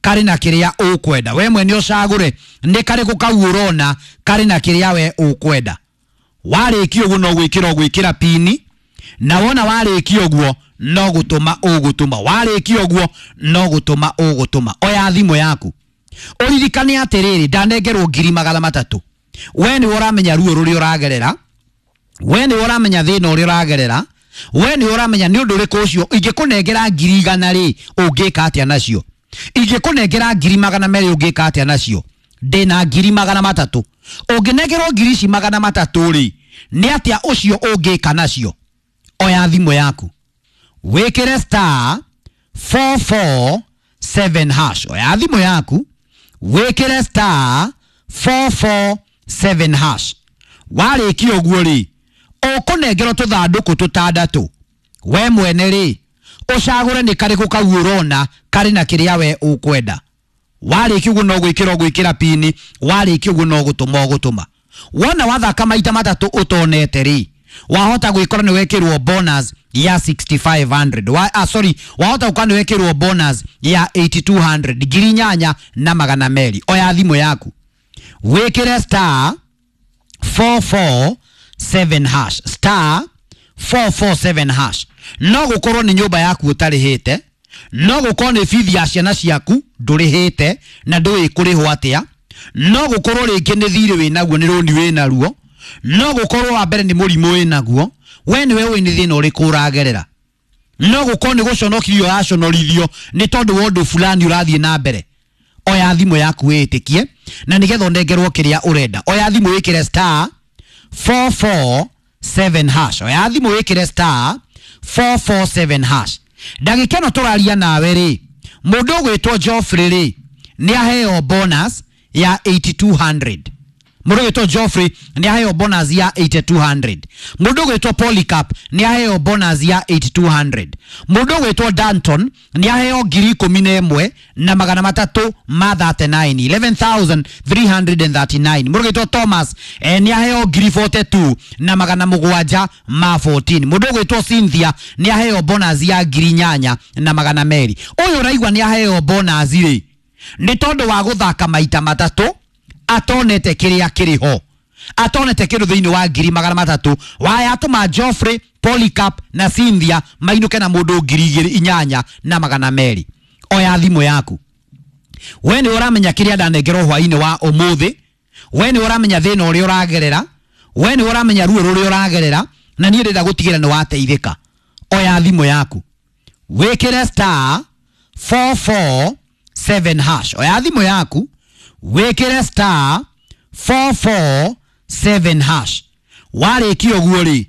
karĩ na kĩrĩa ũkwenda. We mwene ũcagũre nĩ karĩkũ kau ũrona karĩ na kĩrĩa we ũkwenda. Warĩkia ũguo no gwĩkĩra ũgwĩkĩra pini, na wona warĩkia ũguo no gũtũma ũgũtũma. Warĩkia ũguo no gũtũma ũgũtũma. Oya thimũ yaku ũririkane atĩrĩrĩ, ndanengerwo 300,000. We nĩwe ũramenya ruo rũrĩa ũragerera, we nĩwe ũramenya thĩna ũrĩa ũragerera, we nĩwe ũramenya nĩ ũndũ ũrĩkũ ũcio. Ingĩkũnengera 100,000 rĩ, ũngĩka atĩa nacio? Ingĩkũnengera 200,000 ũngĩka atĩa nacio? Ndĩna 300,000. Ũngĩnengerwo ngiri ici 300 rĩ, nĩ atĩa ũcio ũngĩka nacio? Oya thimũ yaku wĩkĩre star 447 hash. Oya thimũ yaku wĩkĩre star 447 hash. Warĩkia ũguo rĩ, ũkũnengerwo tũthandũkũ tũtandatũ. We mwene rĩ, ũcagũre nĩ karĩkũ kau ũrona karĩ na kĩrĩa we ũkwenda. Warĩkia ũguo no gwĩkĩra ũgwĩkĩra pini, warĩkia ũguo no gũtũma ũgũtũma. Wona wathaka maita matatũ ũtonete rĩ, wahota gwĩkora nĩ wekĩrwo bonus ya 6500. Sorry, wahota gũkora nĩ wekĩrwo bonus ya 8200, 8200. Oya thimũ yaku wĩkĩre star 447 hash, star 447 hash. No gũkorwo nĩ nyũmba yaku ũtarĩhĩte, no gũkorwo nĩ bithi ya ciana ciaku ndũrĩhĩte na ndũĩ kũrĩhwo atĩa, no gũkorwo rĩngĩ nĩ thirĩ wĩnaguo, nĩ rũni wĩnaruo, no gũkorwo wa mbere nĩ mũrimũ wĩnaguo. We nĩwe ũĩ nĩ thĩna ũrĩkũ ũragerera. No gũkorwo nĩ gũconokirio ũraconorithio nĩ tondũ wa ũndũ fulani ũrathiĩ na mbere. Oya thimũ yaku wĩĩtĩkie na nĩgetha ũnengerwo kĩrĩa ũrenda. Oya thimũ wĩkĩre star 447 hash. Oya thimũ wĩkĩre star 447 hash. Ndagĩka ĩno tũraria nawe rĩ, mũndũ ũgwĩtwo Geoffrey rĩ, nĩ aheo bonus ya 8200. Mũndũ ũgwĩtwo Geoffrey nĩ aheo bonus ya 8200. Mũndũ ũgwĩtwo Polycarp nĩ aheo bonus ya 8200. Mũndũ ũgwĩtwo Danton nĩ aheo 11,339, 11,339. Mũndũ ũgwĩtwo Thomas nĩ aheo 42,714. Mũndũ ũgwĩtwo Cynthia nĩ aheo bonus ya 8,200. Ũyũ ũraigua nĩ aheo bonus rĩ, nĩ tondũ wa gũthaka maita matatũ atonete kĩrĩa kĩrĩ ho, atonete kĩndũ thĩinĩ wa 300,000. Wayatũma Geoffrey, Polycarp na Cynthia mainũke na mũndũ 8,200. Oya thimũ yaku. We nĩ ũramenya kĩrĩa ndanengerwo hwainĩ wa ũmũthĩ, we nĩ ũramenya thĩna ũrĩa ũragerera, we nĩ ũramenya ruo rũrĩa ũragerera, na niĩ ndĩrenda gũtigĩra nĩ wateithĩka. Oya thimũ yaku wĩkĩre star 447 hash. Oya thimũ yaku wĩkĩre star 447 hash. Warĩkia ũguo rĩ,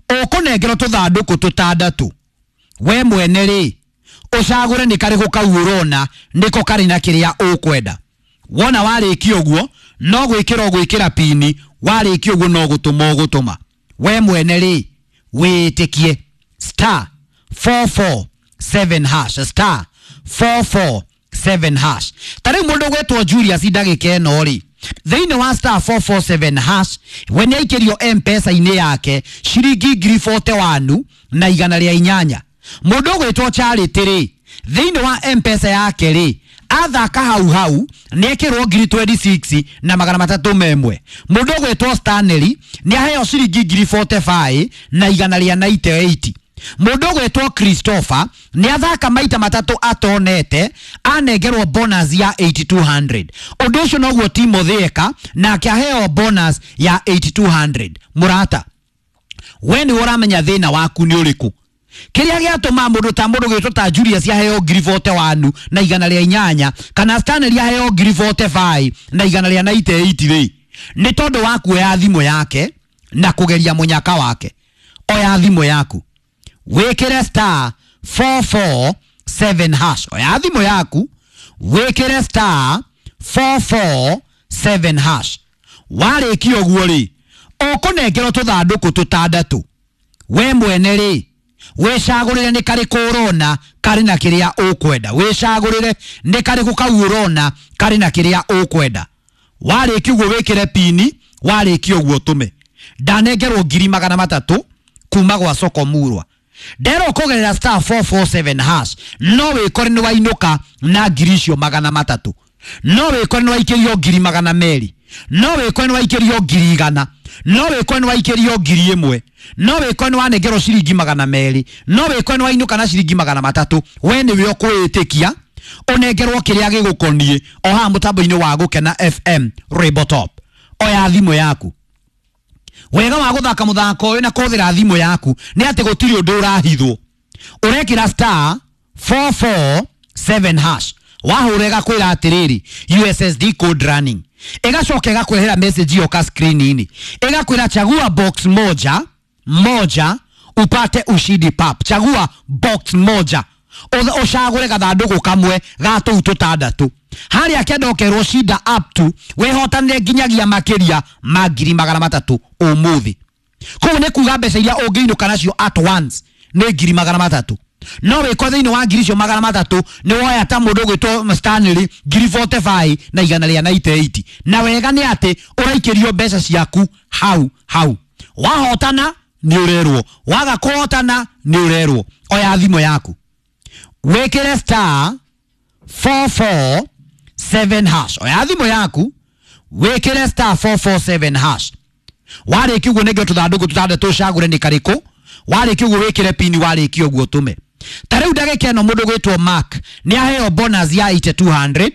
ũkũnengerwo tũthandũkũ tũtandatũ. We mwene rĩ, ũcagũre nĩ karĩkũ kau ũrona nĩko karĩ na kĩrĩa ũkwenda. Wona warĩkia ũguo no gwĩkĩra ũgwĩkĩra pini, warĩkia ũguo no gũtũma ũgũtũma. We mwene rĩ, wĩĩtĩkie star 447 hash, star 447 hash. Ta rĩu mũndũ ũgwĩtwo Julius ndagĩka ĩno rĩ, thĩinĩ wa star 447 hash, we nĩ aikĩrio M-Pesa-inĩ yake ciringi 41,108. Mũndũ ũgwĩtwo Charity rĩ, thĩinĩ wa M-Pesa yake rĩ, athaka hau hau nĩ ekĩrwo 26,301. Mũndũ ũgwĩtwo Stanley nĩ aheo ciringi 45,198. Mũndũ ũgwĩtwo Christopher nĩ athaka maita matatũ atonete, anengerwo bonus ya 8200. Ũndũ ũcio noguo Timothy eka, nake aheo bonus ya 8200. Mũrata, we nĩ ũramenya thĩna waku nĩ ũrĩkũ. Kĩrĩa gĩatũma mũndũ ta mũndũ gwĩtwo ta Julius aheo 41,108 kana Stanley aheo 45,198 rĩ, nĩ tondũ wa kuoya thimũ yake na kũgeria mũnyaka wake. Oya thimũ yaku wĩkĩre star 447 hash. Oya thimũ yaku wĩkĩre star 447 hash. Warĩkia ũguo rĩ, ũkũnengerwo tũthandũkũ tũtandatũ. We mwene rĩ, wĩcagũrĩre nĩ karĩkũ ũrona karĩ na kĩrĩa ũkwenda. Wĩcagũrĩre nĩ karĩkũ kau ũrona karĩ na kĩrĩa ũkwenda. Warĩkia ũguo wĩkĩre pini, warĩkia ũguo ũtũme. Ndanengerwo 300,000 kuma gwa Soko Murwa. Nderwo kũgerera star 447 hash no wĩkore nĩ wainũka na ngiri icio magana matatũ, no wĩkore nĩ waikĩrio ngiri magana merĩ, no wĩkore nĩ waikĩrio ngiri igana, no wĩkore nĩ waikĩrio ngiri ĩmwe, no wĩkore nĩ wanengerwo ciringi magana merĩ, no wĩkore nĩ wainũka na ciringi magana matatũ. We nĩwe ũkwĩĩtĩkia ũnengerwo kĩrĩa gĩgũkoniĩ o haha mũtambo-inĩ wa Gũkena FM Rainbow Top. Oya thimũ yaku. Wega wa gũthaka mũthako ũyũ na kũhũthĩra thimũ yaku nĩ atĩ gũtirĩ ũndũ ũrahithwo. Ũrekĩra star 447 hash, wahũra ĩgakwĩra atĩrĩrĩ USSD code running, ĩgacoka ĩgakũrehera message yoka screen-inĩ, ĩgakwĩra chagua box moja moja upate ushindi pap. Chagua box moja, ũcagũre gathandũkũ kamwe ga tũu tũtandatũ, harĩa kenda ũkerwo shinda up to wĩhotanĩre nginyagia makĩria ma ngiri magana matatũ ũmũthĩ. Koguo nĩ kuga mbeca iria ũngĩinũka nacio at once nĩ ngiri magana matatũ. No wĩkore thĩinĩ wa ngiri icio magana matatũ nĩ woya ta mũndũ ũgwĩtwo Stanley ngiri 45 na igana rĩa 98, na wega nĩ atĩ ũraikĩrio mbeca ciaku hau hau. Wahotana nĩ ũrerwo, waga kũhotana nĩ ũrerwo. Oya thimũ yaku wĩkĩre star 447 hash. Oya thimũ yaku wĩkĩre star 447 hash. Warĩkia ũguo nĩngĩ tũthandũkũ tũtandatũ ũcagũre nĩ karĩkũ. Warĩkia ũguo wĩkĩre pini, warĩkia ũguo ũtũme. Ta rĩu ndagĩka ĩno mũndũ gwĩtwo Mark nĩ aheo bonus ya 8200,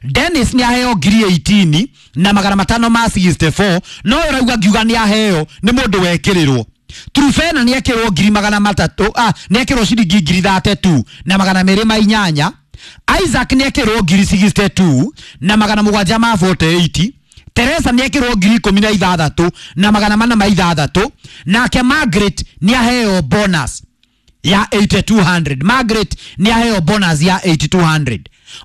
Dennis nĩ aheo ngiri 18 na magana matano ma 64, no ũrauga ngiuga nĩ aheo nĩ mũndũ wekĩrĩrwo. Trufena nĩ ekĩrwo ngiri magana matatũ, nĩ ekĩrwo ciringi ngiri 32 na magana merĩ ma inyanya. Isaac nĩ ekĩrwo ngiri 62 na magana mũgwanja ma 48. Teresa nĩ ekĩrwo ngiri ikũmi na ithathatũ na magana mana ma ithathatũ. Nake Margaret nĩ aheo bonus ya 8200. Margaret nĩ aheo bonus ya 8200.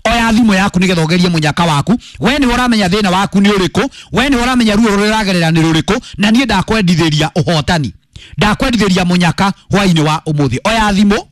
Oya thimũ yaku nĩgetha ũgerie mũnyaka waku. We nĩ ũramenya thĩna waku nĩ ũrĩkũ, we nĩ ũramenya ruo rũrĩa ũragerera nĩ rũrĩkũ, na niĩ ndakwendithĩria ũhotani, ndakwendithĩria mũnyaka hwainĩ wa ũmũthĩ. Oya thimũ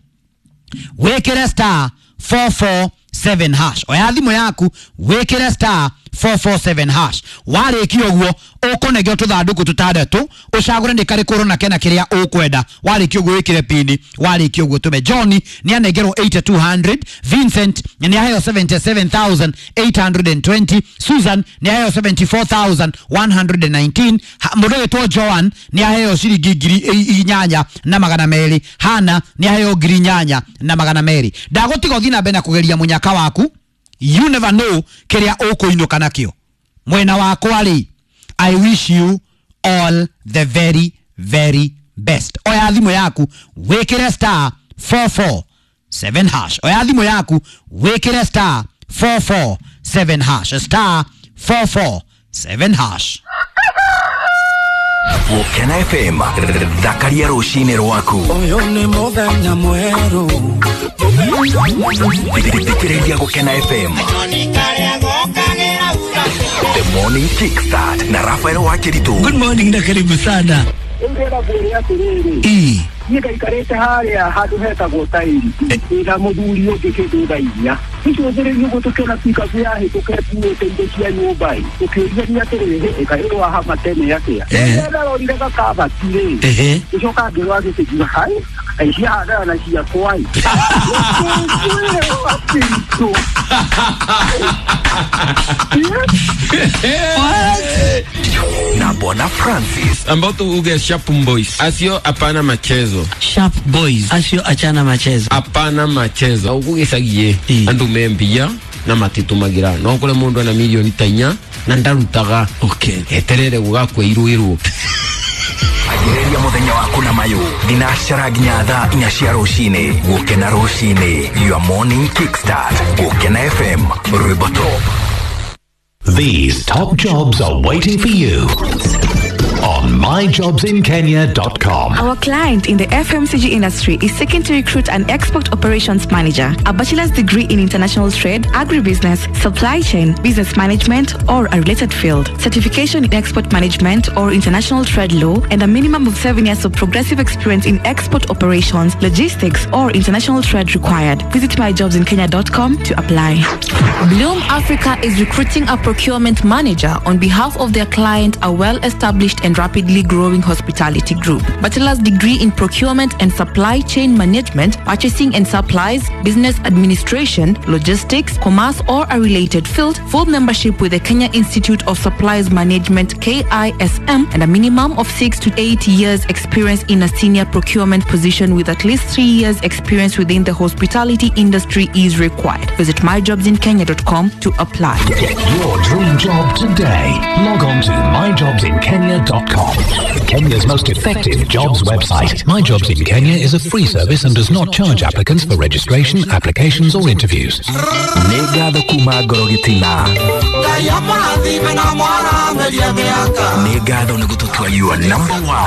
wĩkĩre star 447 hash. Oya thimũ yaku wĩkĩre star 447 hash. Warĩkia ũguo ũkũnengero tũthandũkũ tũtandatũ, ũcagũre nĩ karĩkũ ũrona kena kĩrĩa ũkwenda. Warĩkia ũguo wĩkĩre pini, warĩkia ũguo tũme. John nĩ anengerwo 8200, Vincent nĩ aheo 77820, Susan nĩ aheo 74119, mũndũ wĩtwo Joan nĩ aheo ciringi ngiri inyanya na magana merĩ, Hana nĩ aheo ngiri inyanya na magana merĩ. Ndagũtiga ũthiĩ na mbere na kũgeria mũnyaka waku. You never know kĩrĩa ũkũinũka nakĩo. Mwena wakwa rĩ, I wish you all the very very best. Oya thimũ yaku wĩkĩre star 447 hash. Oya thimũ yaku wĩkĩre star 447 hash. Star 447 hash. Gũkena FM, thakaria rũcinĩ rwaku. Ũyũ nĩ mũthenya mwerũ. Thikĩrĩria Gũkena FM. The Morning Kickstart na Rafael Wakiritu. Good morning na karibu sana. Ndĩrenda ngwĩre atĩrĩrĩ, niĩ ngaikarĩte harĩa handũ hetagwo tairi ndĩna mũthuri ũngĩ kĩndũ thaa inya tũcũthĩrĩrie ũguo tũkĩona pikabu yahĩtũka ĩkuĩte indo cia nyũmba ĩ, tũkĩũria atĩrĩrĩ, ĩkaĩ wahama tene atĩa? Rĩrĩa ndarorire gakabati rĩ, ngĩcoka ngĩrora gĩkĩngiuga hai, kaĩ ciahandana na ciakwa ĩ. Ngĩkwĩrwo atĩritũ. Na Bwana Francis. Ambao tuuge Sharp Boys. Asio hapana machezo. Sharp Boys. Asio achana machezo. Hapana machezo. Ugugicagie andu membia na matitumagira. No kure mundu ana milioni ta inya na ndarutaga. Okay. Eterere gugakweirwo. Agĩrĩria mũthenya waku na mayũ thinacara nginya thaa inya cia rũcinĩ. Gũkena rũcinĩ, your morning kickstart. Gũkena FM, rwĩmbo top. These top jobs are waiting for you on myjobsinkenya.com. Our client in the FMCG industry is seeking to recruit an export operations manager, a bachelor's degree in international trade, agribusiness, supply chain, business management, or a related field, certification in export management or international trade law, and a minimum of 7 years of progressive experience in export operations, logistics, or international trade required. Visit myjobsinkenya.com to apply. Bloom Africa is recruiting a procurement manager on behalf of their client, a well-established and rapidly rapidly growing hospitality group. Bachelor's degree in procurement and supply chain management, purchasing and supplies, business administration, logistics, commerce, or a related field, full membership with the Kenya Institute of Supplies Management KISM, and a minimum of 6 to 8 years experience in a senior procurement position with at least 3 years experience within the hospitality industry is required. Visit myjobsinkenya.com to apply. Get your dream job today. Log on to myjobsinkenya.com. Kenya's most effective jobs website. My Jobs in Kenya is a free service and does not charge applicants for registration, applications, or interviews. Nĩ ngatho kuma ngoro gĩtina. Nĩ ngatho nĩ gũtũtua your number one.